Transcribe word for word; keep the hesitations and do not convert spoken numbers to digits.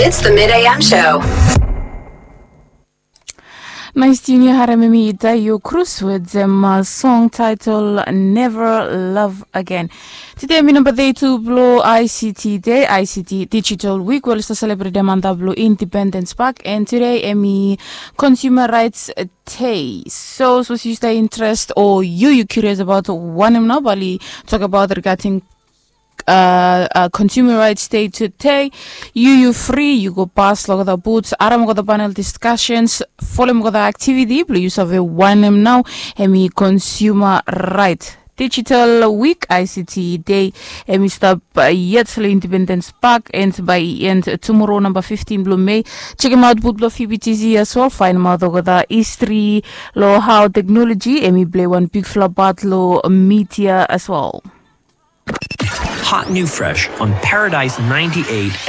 It's the Mid A M show. Nais tune ya harem hemi Dayo Cruz wetem song title Never Love Again. Tede hemi namba teti blo I C T Day, I C T Digital Week we oli stap selebretem antap lo Independence Park, and tede hemi Consumer Rights Day. So sapos yu stap interest o yu yu curious abaot wanem nao bae oli tokbaot regarding uh, uh, Consumer Rights Day tede. Yu yu fri yu go pas lo olgeta booths, harem olgeta panel discussions, folem olgeta activity blo yu save wanem nao hemi consumer right. Digital Week, I C T Day, hemi stap uh, yet lo Independence Park, and bae i end tumora namba fifteen blo Mei. Jekemaot booth blo P B T C as well, faenemaot olgeta history lo hao technology hemi plei wan bigfala part lo media as well. Hot new fresh on Paradise ninety-eight F